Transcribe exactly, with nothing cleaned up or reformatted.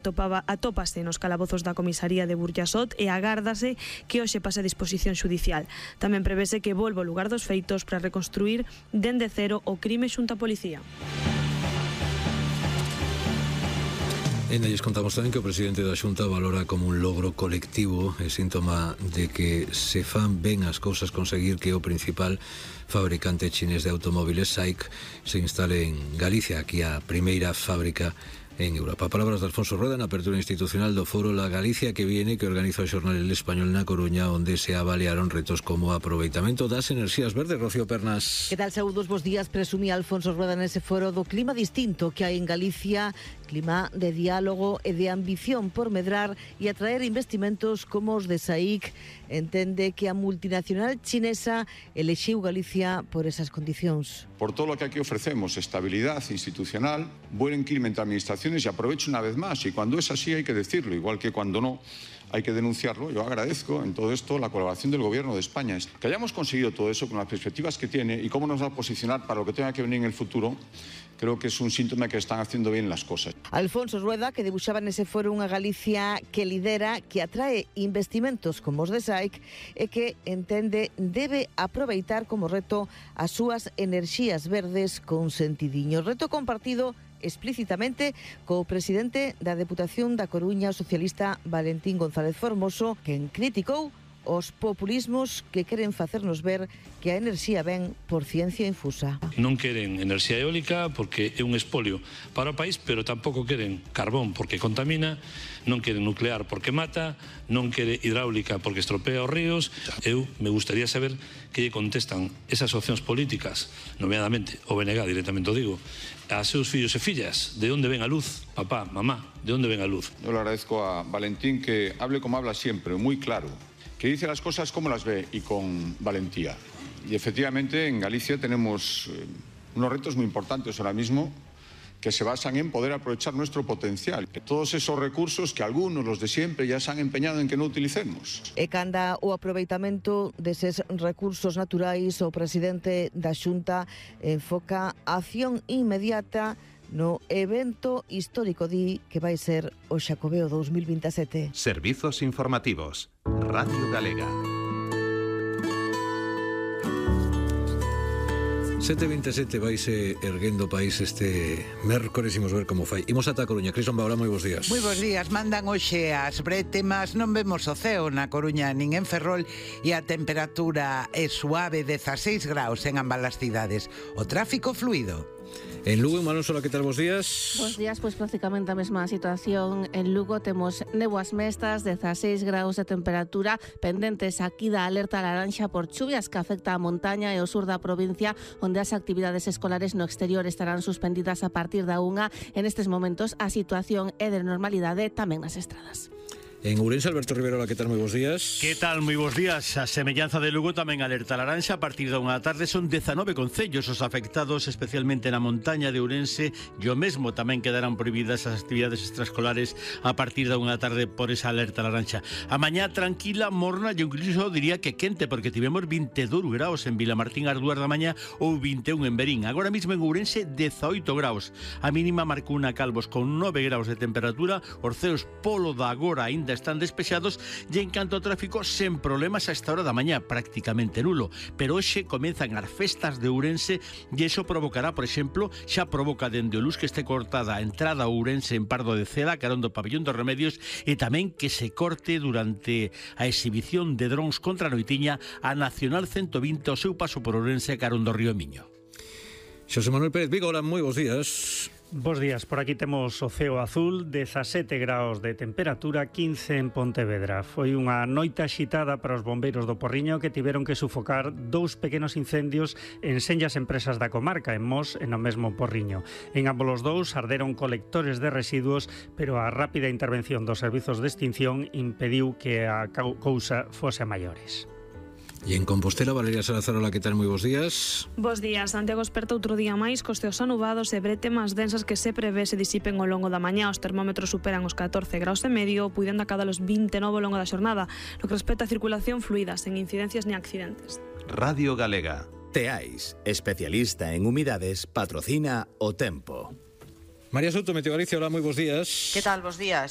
Topaba, atópase nos calabozos da comisaría de Burjasot e agárdase que hoxe pase a disposición xudicial. Tamén prevese que volva ao lugar dos feitos para reconstruir dende cero o crime xunto a policía. E lles contamos tamén que o presidente da Xunta valora como un logro colectivo e síntoma de que se fan ben as cousas conseguir que o principal fabricante chinés de automóviles S A I C se instale en Galicia, aquí a primeira fábrica en Europa. Palabras de Alfonso Rueda na apertura institucional do Foro La Galicia que viene, que organiza o xornal El Español na Coruña, onde se avaliaron retos como aproveitamento das enerxías verdes. Rocío Pernas. Que tal, saúdos, bos días. Presumía Alfonso Rueda nese foro do clima distinto que hai en Galicia, clima de diálogo e de ambición por medrar e atraer investimentos como os de S A I C. Entende que a multinacional chinesa elexiu Galicia por esas condicións. Por todo lo que aquí ofrecemos, estabilidad institucional, buen clima entre administraciones, y aprovecho una vez más, y cuando es así hay que decirlo, igual que cuando no hay que denunciarlo. Yo agradezco en todo esto la colaboración del Gobierno de España. Que hayamos conseguido todo eso con las perspectivas que tiene y cómo nos va a posicionar para lo que tenga que venir en el futuro, creo que es un síntoma que están haciendo bien las cosas. Alfonso Rueda, que debuxaba nese foro unha Galicia que lidera, que atrae investimentos como os de S A I C e que entende debe aproveitar como reto as súas enerxías verdes con sentidiño. Reto compartido explícitamente co presidente da Deputación da Coruña, o socialista Valentín González Formoso, quen criticou os populismos que queren facernos ver que a enerxía ven por ciencia infusa. Non queren enerxía eólica porque é un espolio para o país, pero tampouco queren carbón porque contamina, non queren nuclear porque mata, non quere hidráulica porque estropea os ríos. Eu me gustaría saber que lle contestan esas opcións políticas, nomeadamente o B N G, directamente o digo, a seus fillos e fillas. De onde ven a luz? Papá, mamá, de onde ven a luz? Yo le agradezco a Valentín que hable como habla siempre, muy claro, que dice las cosas como las ve y con valentía. Y efectivamente en Galicia tenemos eh, unos retos muy importantes ahora mismo que se basan en poder aprovechar nuestro potencial. Todos esos recursos que algunos, los de siempre, ya se han empeñado en que no utilicemos. E canda o aproveitamento deses recursos naturais, o presidente da Xunta enfoca a acción inmediata no evento histórico di que vai ser o Xacobeo dos mil veintisiete. Servizos informativos. Radio Galega. sete e veintisiete vaise erguendo o país este mércores, imos ver como fai. Imos ata a Coruña. Crison Baura, moi bons días. Moi bons días. Mandan hoxe as brétemas, non vemos o ceo na Coruña nin en Ferrol e a temperatura é suave, dezaseis graus en ambas as cidades. O tráfico fluido. En Lugo, Manuel Sola, que tal, bos días? Bos días, pois prácticamente a mesma situación. En Lugo temos néboas mestas, dezaseis graus de temperatura, pendentes aquí da alerta laranxa por chuvias que afecta a montaña e o sur da provincia, onde as actividades escolares no exterior estarán suspendidas a partir da unha. En estes momentos a situación é de normalidade tamén nas estradas. En Ourense, Alberto Riverola, que tal, moi bons días? Que tal, moi bons días. A semellanza de Lugo tamén alerta laranxa. A partir da unha da tarde son dezanove concellos os afectados, especialmente na montaña de Ourense, e o mesmo tamén quedarán prohibidas as actividades extraescolares a partir da unha da tarde por esa alerta laranxa. A mañá tranquila, morna, e incluso diría que quente, porque tivemos vinte e dous graus en Vilamartín ás dúas da mañá ou vinte e un en Berín. Agora mesmo en Ourense, dezaoito graus. A mínima marcou na Calvos con nove graus de temperatura. Os ceos polo da agora ainda están despexados e en canto ao tráfico sen problemas a esta hora da mañá, prácticamente nulo, pero hoxe comenzan as festas de Ourense e iso provocará, por exemplo, xa provoca dende o Luz que este cortada a entrada a Ourense en Pardo de Cela, carón do Pabellón dos Remedios, e tamén que se corte durante a exhibición de drons contra a noitiña a Nacional ciento vinte ao seu paso por Ourense, carón do Río Miño. Xosé Manuel Pérez Vigo, hola, moi bons días. Bos días, por aquí temos o ceo azul, dezasete graus de temperatura, quince en Pontevedra. Foi unha noite axitada para os bombeiros do Porriño que tiveron que sufocar dous pequenos incendios en senllas empresas da comarca, en Mos e no mesmo Porriño. En ambos os dous arderon colectores de residuos, pero a rápida intervención dos servizos de extinción impediu que a cousa fose a maiores. E en Compostela, Valeria Salazar, hola, que tal, moi bons días. Bos días. Santiago esperta outro día máis cos ceos anubados e brétemas densas que se prevé se disipen ao longo da mañá. Os termómetros superan os catorce graus e medio, puidendo acadar os vinte e nove ao longo da xornada. No que respecta a circulación fluida, sen incidencias ni accidentes. Radio Galega. Teais, especialista en humidades, patrocina o tempo. María Souto, Meteo Galicia, hola, moi bons días. Que tal, bons días?